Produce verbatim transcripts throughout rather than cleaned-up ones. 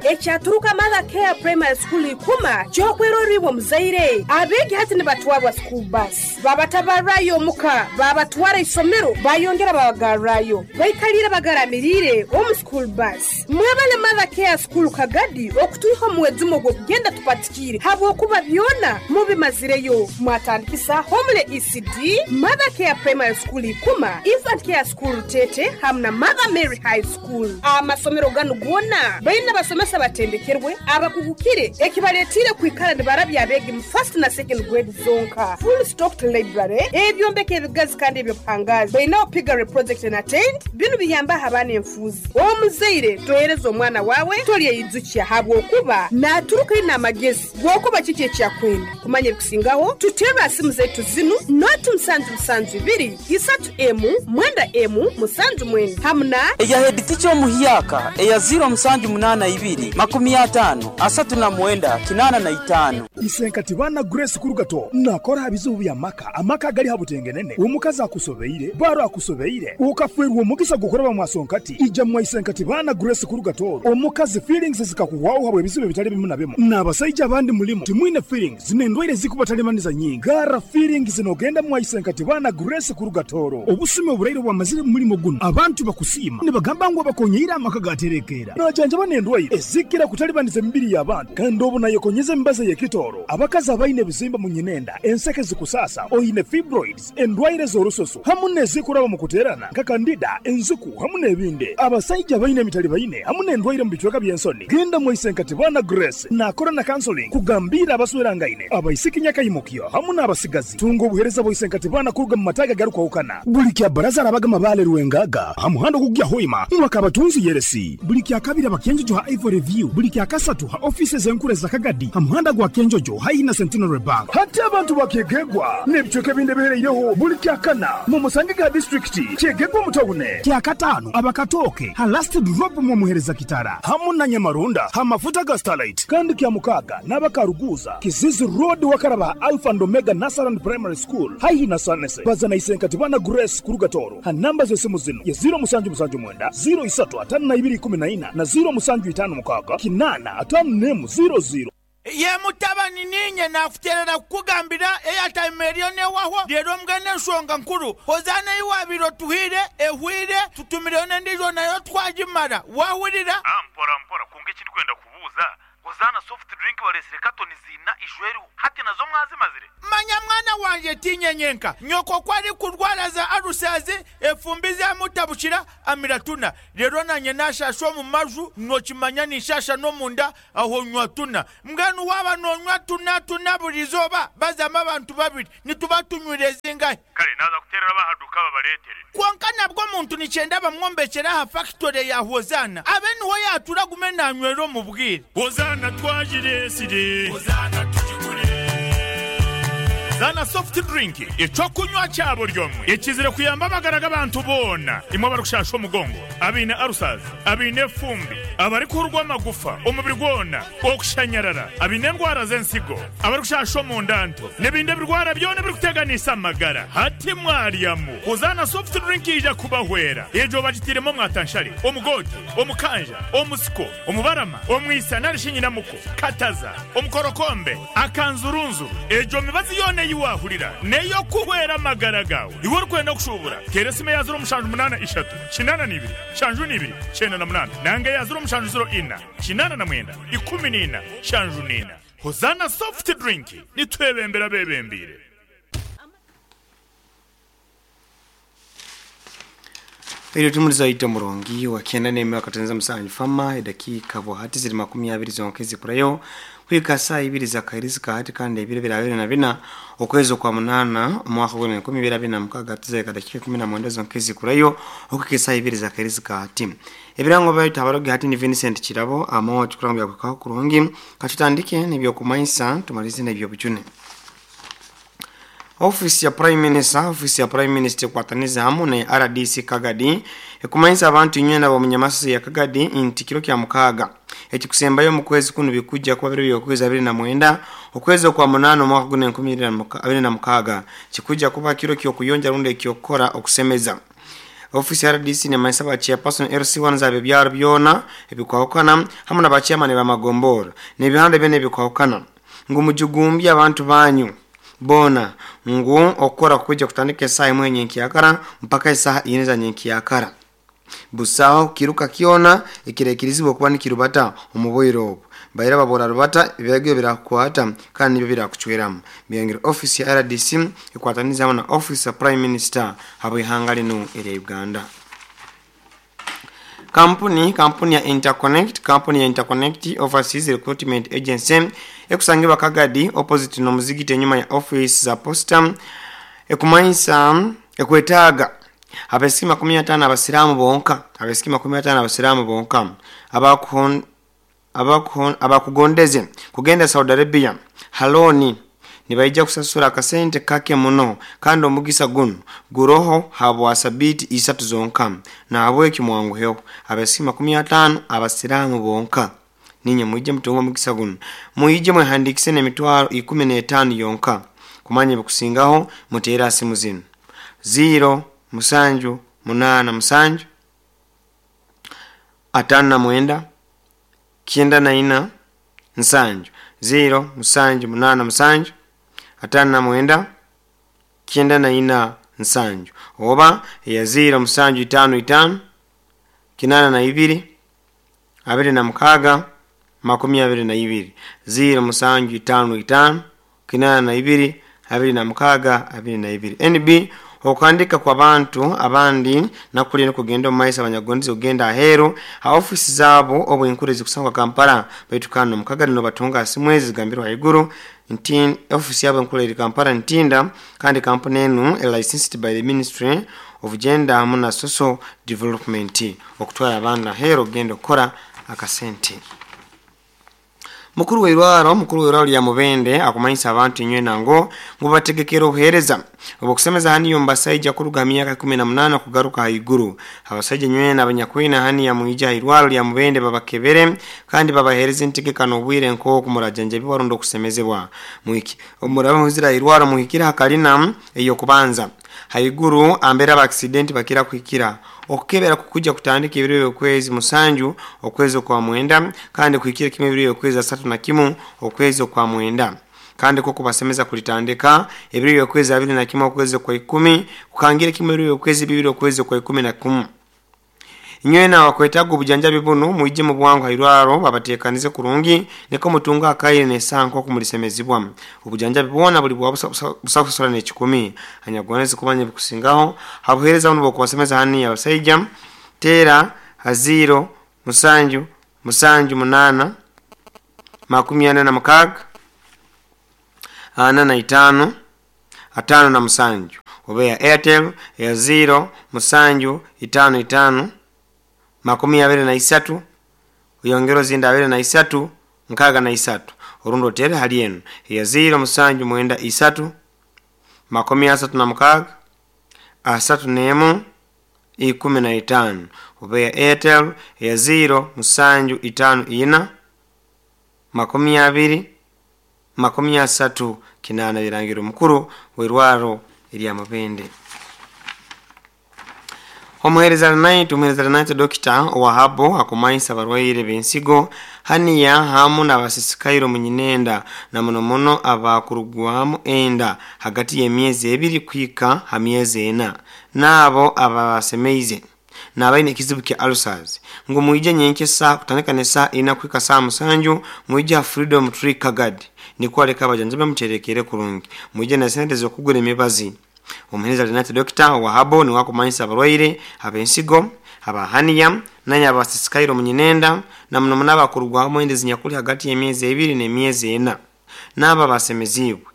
Ekyaturuka Mother Care Primary School ikuma kyokweroribwa muzaire abegi hati nibatwarwa school bus babatabarayo omuka babatwara isomero bayongera babagarrayo baikalira bagaramirire omu school bus. Mwebale Mother Care School Kagadi okutuiho omwezumo gw'okugenda tupatikire habwokuba byona mubimazireyo. Mwatandikisa Homle E C D, Mother Care Primary School ikuma, Infant Care School Tete hamna Mother Mary High School. Amasomero ganu gona baina basomesa batendekerwe abakugukire ekibaletire kwikara nibarabya abegi mu first na second grade zonka. Full stocked library ebyombeko ebigazi kandi ebyobuhangazi baina piggery project na tent binu biyamba abana enfuzi. Omuzaire tohereza omwana wawe tolye habwokuba naturuka ina amagezi gwokuba kiki ekyakwenda kumanya ebikusingaho tutera simu zetu zinu noti musanju musanju ibiri isatu emu mwenda emu musanju mwenda hamna eya head teacher omuhyaka eya zero musanju munana ibiri makumi atano asatu na mwenda kinana na itano. Isenkati bana Grace Kurugato nakora bizubu bya maka amaka gali habutengenene omukazi akusobeire baro akusobeire ukafwerwa omugisa gukora bamwasonkati ija mwa Isenkati bana Grace Kurugato omukazi feelings zikakuwaho habwe bizubu bitali bimu na bimu n'abasajja abandi mulimo timwine feelings zinendwaire zikubatalimaniza nyingi gara feelings zinogenda mwa Isenkati bana Grace Kurugatoro obusime oburaire bwamazire mulimo guno abantu bakusima nibagamba ngo bakonyeira amaka gaterekera najanja banendwaire ezikira kutalibaniza emibiri y'abantu kandi obu nayekonyeza embaza y'ekitoro abakazi abaine ebizimba mu nyinenda enseke zikusasa oyine fibroids endwaire z'orusoso hamu n'ezikuraba mu kuterana nka kandida enzuku hamu n'ebindi abasajja abaine emitali baine hamu n'endwaire mu bicweka by'ensoni genda mu Isenkati bana Grace nakora na counseling kugambira abaswerangaine abaisiki nyakayimukyo hamu n'abasigazi tunga obuhereza bwa Isenkati bana kuruga mu mataga garukwahukana buli kya baraza arabaga mabale ruwengaga hamuhando kugya hoima mwakabatunzi yeresi buli kya kabiri abakenjojo ha Ivory View buli kya kasatu ha offices enkure za Kagadi hamuhanda gwa Kenjojo haina Centenary Bank hati abantu bakegegwa n'ebicweka ebindi bihereireho buli kya kana mu Musangiga district kyegegwa mutawune kya katano abakatoke ha last drop mu muhereza kitara hamu na Nyamarunda ha mafuta ga Starlight kandi kya mukaga n'abakaruguza Kizizi Road wakaraba Alpha and Omega Nasaran Primary School haihi na Sanese bazana Isenkati bana Grace Kurugatoro ha namba z'esimu zino ya zero musanju musanju mwenda zero isatu atano na ibiri kumi na ina na zero musanju itano mukaga kinana atano nemu zero zero. Ye mutabani ninye nakuterera kukugambira airtime eriyo newaho rero mbwene ensonga nkuru hozana iwabiro tuhire ehwire tutumireyo n'endijo nayo twagimara wahurira. Ah, mpora mpora kunga ekindi kwenda kubuuza hozana soft drink balesire katoni zina ijweriho hati nazo mwazimazire. Manya mwana wanje tinyenyenka nyoko kwari kurwara za arusazi efumbi zamutabukira amiratuna rero nanye nashasha mu maju nokimanya nishasha no munda aho nywa tuna mbwenu waba nonywa tuna tuna burizoba bazama abantu babiri nituba tunywire zingahe kale naza kuterera bahaduka babaletere konka nabwo muntu nicyenda bamwombekera ha factory ya Hozana abe niho yatura gume nanywero mubwire Hozana twajiresire Hozana tujigure Zana soft drink ecokunywa cyabo ryomwe ekizire kuyamba amagara abantu bona imwe barukushasha omugongo abine arusazi abine fumbi abari kurwa amagufa omubiri gwona okushanyarara abine ndwara z'ensigo abari kushasha omundanto n'ebindi birwara byona birikuteganisa amagara hati mwaryamu Hozana soft drink ija kubahwera ejo bagitiremo mwatanshari omugote omukanja omusiko omubarama omwisa narishinyinamuko kataza omukorokombe akanzurunzuru ejo mibazi yone yiwahurira neyo kuhwera amagara gawe iwe urikwenda kushubura teresime ya zero mushanju munana ishatu kinana nibiri shanju nibiri chenda na munana nange ya zero mushanju zero ina kinana na mwenda ikumi nina shanju nina. Hozana soft drink nitwebembera bebembire. Iyo tumuliza ito murongi wa kenda neme wakatenza msanju fama dakika buhati ziri makumi abiri zonkezi kurayo kwika saa ibiri za kairizi hati kandi ibiri bira abiri na bina okwezi kwa munana omwaka gwa enkumi ibiri abiri na mukaga tuzeka dakika kumi na mwenda zonkezi kurayo okwika saa ibiri za kairizi hati ebirango bayita abalogi hati ni Vincent Kirabo amo tukurambya kwa kurungi katutandike nibyo kumaisa tumalize nibyo buchune. Office ya Prime Minister, Office ya Prime Minister kwataniza hamu na R D C Kagadi ekumanyiza abantu inywena bo munyamasi ya Kagadi inti kiro kya mukaga ekikusembayo mu kwezi kuno bikujja kuba biro byokwezi abiri na mwenda okwezi kwa munano mwaka gune enkumi abiri na mukaga kikujja kuba kiro kyo kuyonja runde kyokora okusemeza. Ofisi ya R D C nemanyisa ba chairperson L C one zabe byaro byona ebikwahukana hamwe na ba chairman b'amagombora n'ebihanda byona ebikwahukana ngu mujugumbi abantu banyu bona ngu okukora kuja kutandika esaha imwe nyenkiyakara mpaka esaha ine za nyenkiyakara. Busaho kiruka kiona ekirekirizibwa okuba nikirubata omu bwire obu baira babora rubata ebiragiro birakwata kandi nibyo birakucweramu. Byongera ofisi ya R D C ekwataniza hamwe na ofisi ya Prime Minister habw'ihanga lino erya Uganda. Kampuni kampuni ya Interconnect kampuni ya Interconnect Overseas Recruitment Agency ekusangibwa Kagadi opposite no muzigiti enyuma ya office za posta ekumanyisa ekwetaaga abesiki makumi atano abasiramu bonka abesiki makumi atano abasiramu bonka abakuhon abakuhon abakugondeze kugenda Saudi Arabia haloni nibaija kusasura akasente kake muno kandi omugisa guno guroho habwa sabiti isatu zonka na habweki mwanguheho abesiki makumi atano abasiramu bonka ninye mwije mutungo omugisa guno mwije mwehandikise n'emitwaro ikumi n'etaano yonka kumanya ebikusingaho muteera simu zino zero musanju munana musanju atano na mwenda kyenda na ina nsanju zero musanju munana musanju atano na mwenda kyenda na ina nsanju oba ya zero musanju itano itano kinana na ibiri abiri na mukaga makumi abiri na ibiri zero musanju itano itano kinana na ibiri abiri na mukaga abiri na ibiri. N B okandika kwa bantu abandi nakulina kugenda omu maiso abanyagonzi ogenda aheru ha ofisi zabo obwenkurezi kusangwa Kampala baitu kano mukaga no batunga simwezi zigambirwa haiguru nti ofisi yabo enkuru eri Kampala Ntinda kandi kampuni enu licensed by the Ministry of Gender hamwe na Social Development okutwara abandi aheru ogenda okukora akasente. Mukuru w'irwaro mukuru w'irwaro lya Mubende akumanyisa abantu inywe nango ngo bategekera obuhereza obukusemeza hani yo mbasaija kuruga myaka kumi na munana kugaruka haiguru. Abasaija nywe n'abanyakwina hani ya mwija irwaro lya Mubende babakebere kandi babahereza entegekano obwire nko kumurajanja biwarundo okusemezebwa mwiki omuraba muzira irwaro muhikira hakalina eyo kubanza haiguru ambera ba accident bakira kuhikira okukebera kukuja kutandika ebiro okwezi musanju okwezi kwa mwenda kandi kuhikira kimwe ebiro okwezi asatu na kimu okwezi kwa mwenda kandi ko kubasemeza kulitandika ebiro okwezi abiri na kimu okwezi kwa ikumi kukangira kimwe ebiro okwezi bibiri okwezi kwa ikumi na kumu. Inywe na wakwetaga obujanjabi buno mwije mu bwangu hairwaro babatekanize kurungi niko mutunga akaire nesanko kumulisemezibwa obujanjabi bwona buli bwa busakusora n'ekikumi anyagwaneze kubanya bikusingaho habuhereza buno bokubasemeza hani abasaija tera haziro musanju musanju munana makumi ana na mukaga ana na itano atano na musanju oba ya Airtel ya zero musanju itano itano makumi abiri na isatu uyongero zinda abiri na isatu nkaga na isatu orundo tere hali eno ya zero musanju mwenda isatu makumi asatu na mukaga asatu nemu ikumi na itano oba ya Airtel ya zero musanju itano ina makumi abiri makumi asatu kinana birangiro mukuru w'irwaro erya Mubende. Omuhereza night omuhereza night Doctor Wahabo akumanyisa abarwaire b'ensigo haniya hamu n'abasisikairo munyinenda na muno muno abakurugwamu enda hagati y'emyezi ebiri kwika ha myezi ena n'abo ababasemeize n'abaine ekizibu kya ulcers ngu mwije nyenkesa kutandika n'esaa ina kwika saa musanju mwije ha Freedom Tree Kagadi nikwo aleka abajanjabi bamuterekere kurungi mwije na sente z'okugura emibazi. Omuhereza Lenati Doctor Wahabo niwe akumanyisa abarwaire ab'ensigo abahaniya nanya abasisikairo munyinenda na muno muno abakurugwamu enda ezinyakuli hagati y'emyezi ebiri n'emyezi ena n'abo abasemeziibwe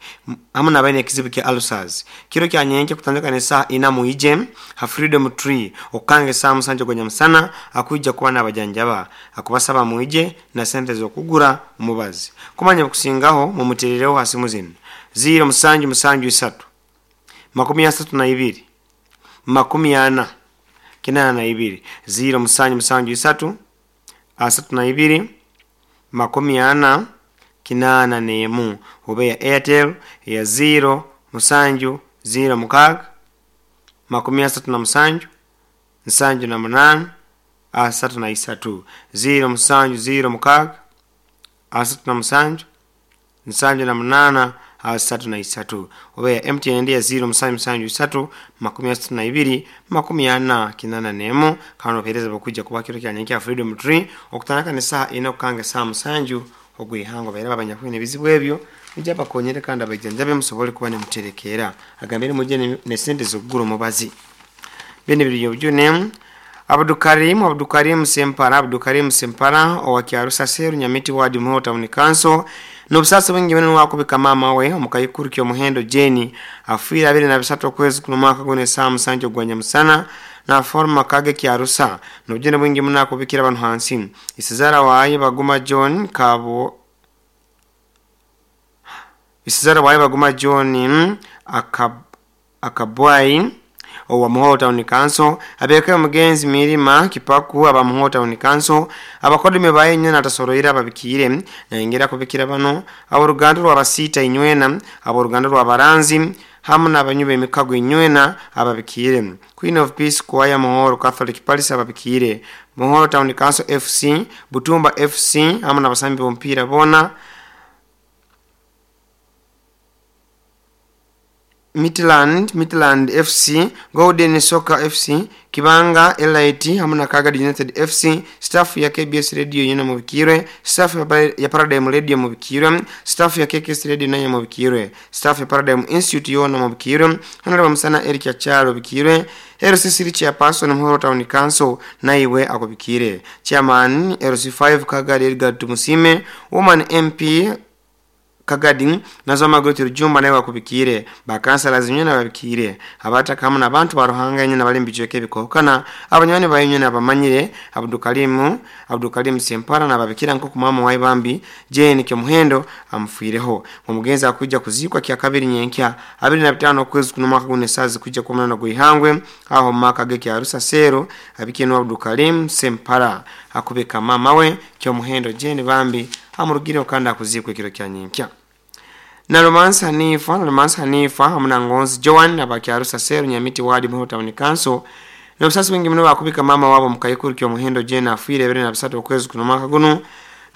hamwe n'abaine ekizibu kya ulcers. Kiro kya nyenkya kutandika n'esaa ina mwije ha Freedom Tree okukanga esaa musanju ogw'enyamusana akwija kuba n'abajanjaba akubasaba mwije na sente z'okugura omubazi. Kumanya okusingaho mumuteerereho ha simu zino ziro musanju musanju isatu makumi asatu na ibiri makumi ana kinana na ibiri ziro musanju musanju isatu asatu na ibiri makumi ana kinana nemu oba ya Airtel ya ziro musanju ziro mukaga makumi asatu na musanju nsanju na munana asatu na isatu ziro musanju ziro mukaga asatu na musanju nsanju na munana asatu na isatu oba ya M T N ya ziro musanju musanju isatu makumi asatu na ibiri makumi ana kinana nemu kano opereza bakujja kuba kiro kya nyenkya Freedom Tree okutanaka ne saha ina okukanga saha musanju ogwihango baira abanyakwine ebizibu ebyo bijja bakonyere kandi abajanjabe musobole kuba ne muterekera agambire mujje ne, ne sente z'okugula omubazi bene biri obujune Abdukarim Abdukarim Sempara Abdukarim Sempara owa Kyarusa Seru Nyamiti Ward Muhoro Town Council n'obusasi bwingi bino wakubika maama we omukayikuru ky'omuhendo Jane afiire abiri na bisatu okwezi kuno mwaka guno esaa musanju ogwa nyamusana na forma kage Kyarusa n'obujune bwingi muno akubikira abantu hansi isizara waye Baguma John Kabo isizara waye Baguma John akab akabwai owa Muhoro Town Council abeke omugenzi Mirima Kipaku aba Muhoro Town Council abakodime baye nyana atasoroira ababikire nayengera kubikira bano aboruganda rw'abasita inywena aboruganda rw'abaranzi hamu n'abanyuba emikago inywena ababikire Queen of Peace Choir Muhoro Catholic Palace ababikire Muhoro Town Council F C Butumba F C hamu n'abasambi b'omupiira bona Midland, Midland F C, Golden Soccer F C, Kibanga Elite hamu na Kagadi United F C, staff ya K B S Radio yena mubikirwe, staff ya Paradigm Radio mubikirwe, staff ya K K S Radio nayo mubikirwe, staff ya Paradigm Institute yona mubikirwe, Honorable Musana Eric Achalo bikirwe, L C C Chairperson Muhoro Town Council naiwe akubikire, Chairman L C five Kagadi Edgar Tumusime, Woman M P Kagadi nazo magoti rujumba nawe wakubikire bakansala zinywe babikire abataka hamwe n'abantu baruhanga nyine bali mbijweke bikokana abanywani bayinywe nabamanyire Abdukarimu Abdukarimu Sempara nababikira nko kumama wayi bambi Jane Kyomuhendo amfuireho omugenzi akujja kuzikwa kya kabiri nyenkya abiri na bitano okwezi kuno mwaka guno esazi kujja kumana gwihangwe aho maka ge kya Sero abikino Abdukarimu Sempara akubika mama we Kyomuhendo Jane bambi amurugire okanda akuzikwa ekiro kya nyenkya. Na Romance Hanifa, Romance Hanifa, hamuna Ngonzi Joan, abakyarusa Seru, Nyamiti Wadi, Muhoro Town Council. Na obusasi bwingi muno bakubika mama wabo mukayikuru ky'omuhendo Jane afiire ebiri na bisatu okwezi kuno mwaka guno.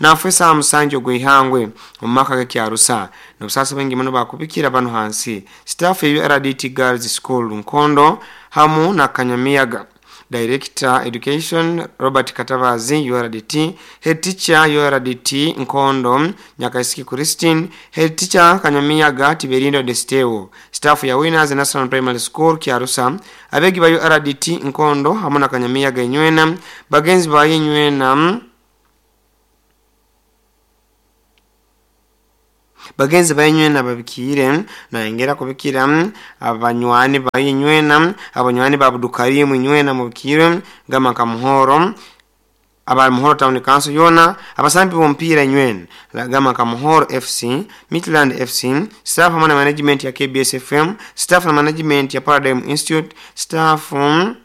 Na afwe saa musanju ogw'ihangwe mu maka g'ekyarusa. Na obusasi bwingi muno bakubikira bano hansi. Staff ya U R D T Girls School Nkondo, hamu na Kanyamiyaga. Director Education Robert Katabazi U R D T, Head Teacher U R D T Nkondo Nyakaisiki Christine, Head Teacher Kanyamiyaga Tiberindo Desteo, staff ya Winners National Primary School Kyarusa, abegi ba U R D T Nkondo hamwe na Kanyamiyaga inywena, bagenzi ba inywena bagenzi bainywena babikire nayengera kubikira abanywani bainywena abanywani babudukarimu inywena mubikire gama kamuhoro aba Muhoro Town Council yona abasambi bompira inywena gama kamuhoro F C Midland F C staff hamwe na management ya K B S F M staff na management ya Paradigm Institute staff um,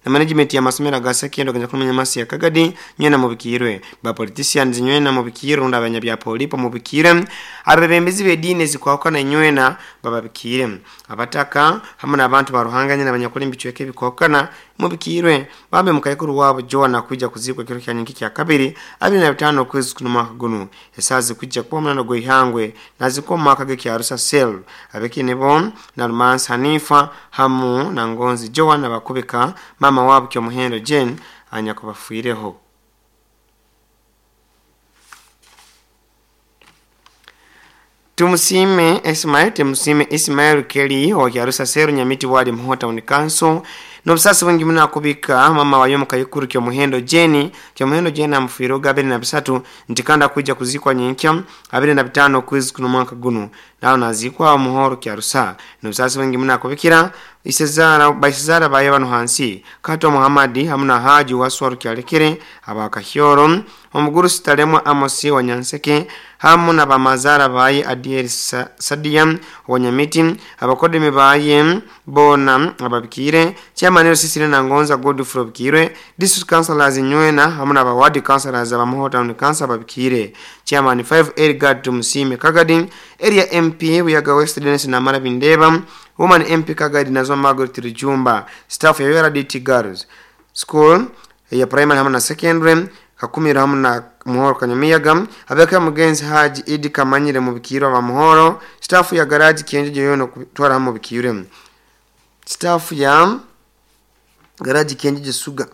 na management ya masomero ga sekendo kanya kumenya masi ya Kagadi nywena mubikirwe ba politicians nywena mubikirwe unda abanya polipo mubikire abebembezi bedine zikwakana nywena bababikire abataka hamwe n'abantu baruhanganye n'abanyakuri mbicweke bikokana mubikirwe bambe mukayikuru wabo Joana kuja kuzikwa kiro kya nyingi kya kabiri abiri na bitano kwezi kuno mwaka guno esazi kujja kuba munano gwihangwe naziko mwaka ge kya Sel abekine bo na Romance Hanifa hamu na Ngonzi Joana bakubika mama wabo Kyomuhendo Jane anyakubafuireho. Tumusime Ismail Tumusime Ismail Kelly wa Kyarusa Seru Nyamiti Wadi Muhoro Town Council n'obusasi bwingi muno akubika mama wayo mukayikuru Kyomuhendo Jane Kyomuhendo Jane amufiireho abiri na bisatu nti kandi akujja kuzikwa nyenkya abiri na bitano okwezi kuno mwaka guno naho nazikwa Muhoro Kyarusa n'obusasi bwingi muno akubikira isezara baisezara baye bano hansi Kato Muhammad hamwe na Haji Waswaru Kyalekere abakahyoro omuguru Sitalemo Amosi wa Nyanseke hamu na bamazara baye Adiel Sa, Sadia wa Nyamiti abakodemi baye bona ababikire chairman Sisire na Ngonza Godfrey Bikire district councillors nywena hamu na bawadi councillors aba Muhoro Town Council ababikire chairman five Edgar Tumusime Kagadi area M P Buyaga West Dennis na Mara Bindeba Woman M P Kagadi Nazo Margaret Rujumba, staff ya U R D T Girls School ya primary hamwe na secondary Kakumiro hamwe na Muhoro Kanyamiyaga, abeka mugenzi Haji Idi Kamanyire mu bikiro ba Muhoro, staff ya garage Kienjeje yono kutwara hamwe bikire, staff ya garage Kienjeje Suga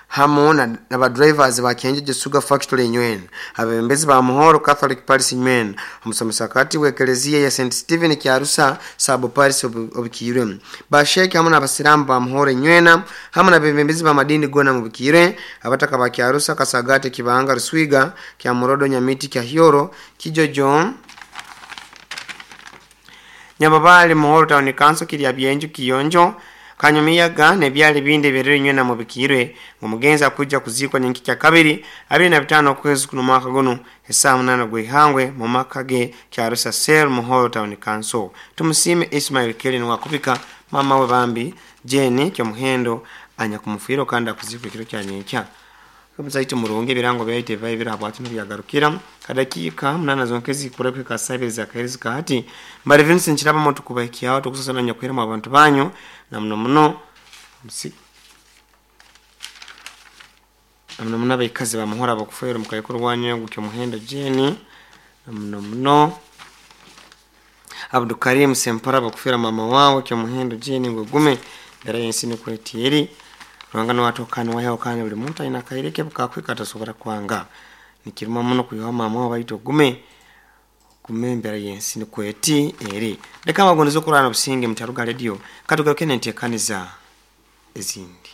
hamwe na, na ba drivers ba Kienjeje Suga Factory Nywena, abembezi ba Muhoro Catholic Parish Nywena, omusomesa we Eklezia ya Saint Stephen Kyarusa Sabo Parish obikire, ba Sheikh hamwe n'abasilamu ba Muhoro Nywena hamwe n'abembezi ba madini gona mu bikire, abataka ba Kyarusa Kasagate Kibanga Ruswiga kya Murodo Nyamiti kya Hyoro Kijojo Nyababale Muhoro Town Council kirya Byenju Kiyonjo Kanyumiyaga nebyali bindi birere nywena mu bikirwe ngo kuja kuzikwa nyenki kya kabiri abiri na bitano kwezi kuno mwaka guno esaa munana gwihangwe mu maka ge Kyarusa Sel Muhoro Town Council. Tumusime Ismail Kelin wakubika mama we bambi Jenny Kyomuhendo anya kumufiro kandi akuzikwa kiro kya nyenkya Muzaite murungi birango byaite bibaye birabwati n'byagarukira kadakika munana zonkezi kurekwe kasabiriza kahereza kahati mbari Vincent kiraba moto kubakiyaho tukusasana nyakwira mu abantu banyu na muno muno musi muno muno abaikazi bamuhora bakufera mukayikuru wanyu gutyo muhendo Jenny na muno muno Abdukarim Sempara bakufera mama wawe kyo muhendo Jenny ngo gume ndara yensi ni kwetieri Rwangano watokana wayo kana buli muntu aina kaireke bukakwika tasobora kwanga nikiruma muno kuyoha mama wabaito gume kumembera yensi ni kweti eri leka magonzo kurana businge mutaruga radio katugaruke nentekaniza ezindi.